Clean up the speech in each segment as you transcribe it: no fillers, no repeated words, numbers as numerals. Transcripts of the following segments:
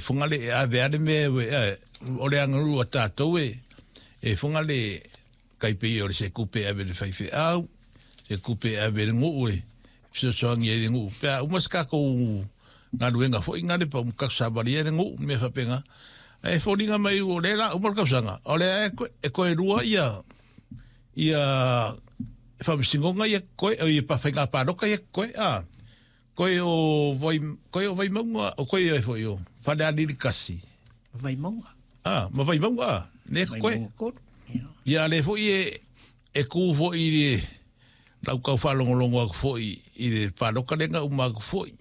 Fogale e ave a le mea e, o le aganuu a tatou e, e Fogale tai pei o le se tupe e ave i le faifeau, se tupe e ave i le nuu e fesoasoani ai i le nuu. Pe a uma se tatou galuega foi na le pa tatou savali ai le nuu, mea faapena. Ae foliga mai o lea la uma le tausaga, o lea e toe lua ia ia faamasinoga ia koe, ia faiga palota ia koe, a. Koe o vai, koe o Vaimauga, o koe ai foi o Falealili 1. Vaimauga. Ah, ma Vaimauga, ah, le koe. Vaimauga 3. Ia le foi e, e kū foi i le lau tau faalogologo atu foi i le palota lea na uma atu foi.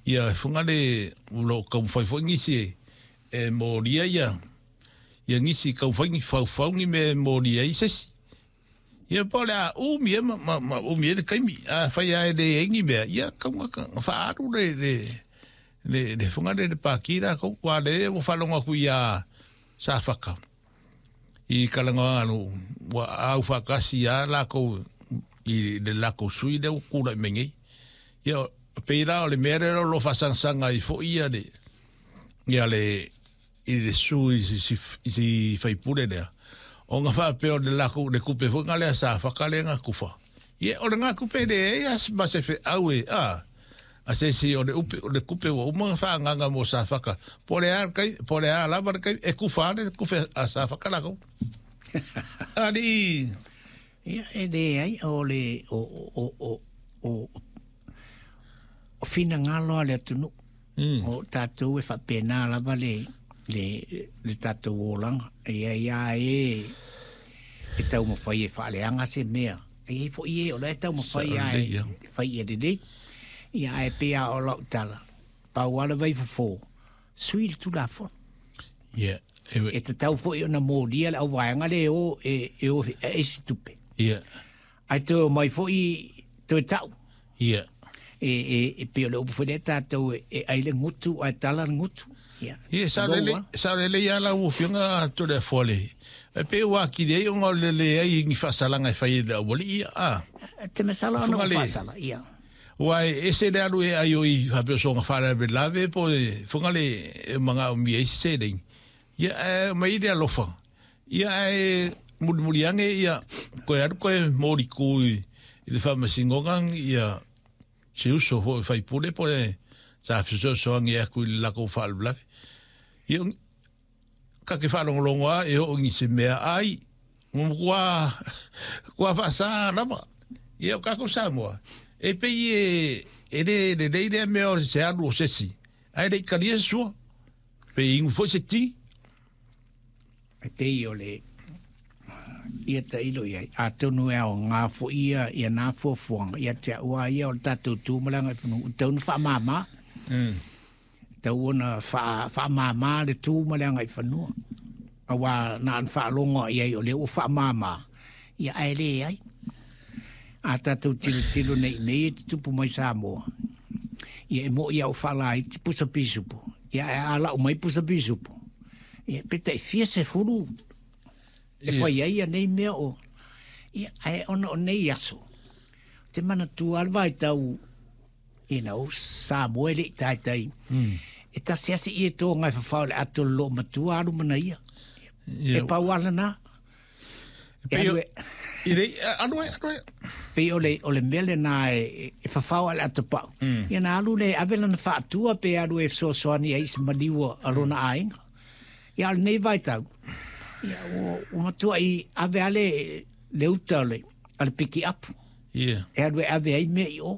Ia e funga le o lo o taumafai foi nisi e, e molia ia ia nisi taumafai ni faufau ni mea e molia ai se isi. Ia po o le a umi ai ma, ma, ma umi ai le taimi. Afai lava e leai ni mea, ia tau na, na faaalu le, le, le, le funga le, le pākī lākou. Ua lea ua faalogo atu iā Safata i talanoaga anu, ua au faatasi lava lākou i le latou sui lea ua tulai mai nei. Ia, pei la o le mea lea o lo o faasagasaga ai foi ia le, ia le, i le sui i si faipule lea, ona faapea o le lakou le tupe foi na lea sa faka lea na tufa. Ia o lena tupe e leai a ma se feau e a a se isi o le upe o le tupe ua uma ona faaagaga mo Safata. Po o le a le taimi po o le a lava le taimi e tufa lava le tupe a Safata lakou. Alii. Ia e leai o le o o o o o finagalo a le atunuu. O tatou e faapena lava le, le, le tatou olaga. E i ai lava e e taumafai e faaleaga se mea. E i ai foi e o la e taumafai lava e fai ia lelei. Ia ae pei lava o lau tala, pau lava le vaifofo, sui le Tulafono. Yeah. E tatau foi ona molia le auvaega lea e o e, e o e isi tupe. Yeah. Ae toe omai foi toe tau. Ia. E, e, e pei o le upu foi lea tatou e, e ai le gutu ae tala le gutu. Ia. Ia, sao lelei, sao lelei lava lau Afioga Toleafoa le. E pei ua atili ai ona o le leai ni faasalaga e fai e le aualii ia, a. Te masalo ona ua faasala, ia. Aua e ese le alu e ai o i faapea o soona faalavelave po e fuga le e manaomia ai se seleni. Ia, ae aumai le alofa. Ia ae mulimuli ane ia koe alu koe moliku i le faamasinoga ia se uso foi faipule po e sa fesoasoani atu i le latou faalavelave. Ia ka te faalogologo lava e oo i se mea ai, ua matua matua faasa lava. Ia o tatou Samoa, e pei e e le lelei lea mea o se alu o se isi, ae le i talia se sua, pe inu foi se ti. E pei o le ia tailo i ai, atonu e aoga foi ia, ia nā fuafuaga ia te au a ia o le tatou tu ma le agaifanua, ua tatau ona faamama. Tatau ona faa, faamama le tu ma le agaifanua. Aua na ona faalogo i ai o lea ua faamama, ia ae leai. A tatou tilotilo nei i mea ia e tutupu mai Samoa, ia e moni lava ua faalaiti pusa pisupo, ia ae a lau mai pusa pisupo, ia pe tai fia sefulu e fai ai ia nei mea o... Ia, ae ona o nei aso, ou te manatua lava le vaitau, you know, Samoa e le i taitai, e tasi lava si ietoga e fafao i le ato o le loomatua alu ma naia. E pau lava lena. E alu e... I le, alu ai, alu ai. Pei o le, o le mea lena e, e fafao ai le atopau. Ia na alu lea e ave lana faatua pe alu e fesoasoani ai i se maliu a lona aiga. Ia a o lenei vaitau, ia ua, ua matuai ave lava le, le uta o le, a le pikiapu. Ia. E alu e ave ai mea i o.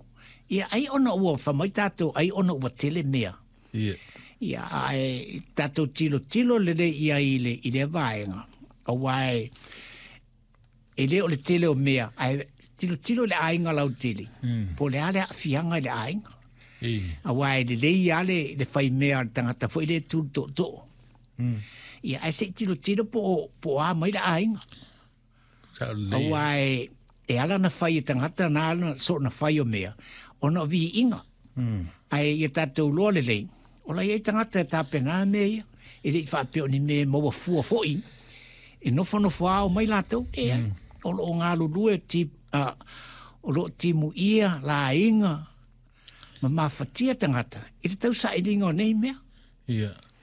Ia ai ona ua fai mai tatou ai ona ua tele mea. Ia. Ia, ae tatou tilotilo lelei i ai i le, i lea vaega, aua e, e le o le tele o mea, ae tilotilo i le aiga lautele, mm. po o le a le aafiaga i le aiga. Aua e lelei lava le, le fai mea a le tagata foi lea e tu i le tootoo. Mm. Ia, ae se i tilotilo po o, po o a mai le aiga. Aua e, e ala ona fai e tagata na ala soona fai o mea, ona o viiga. Ae ia tatou iloa lelei, o la e i ai tagata e tapena ana mea ia, e le i faapea o ni mea e maua fua foi, e nofonofo ao mai latou, leai. O lo o galulue ti, o lo o timuia laiga ma mafatia tagata i le tausailiga o nei mea. Ia.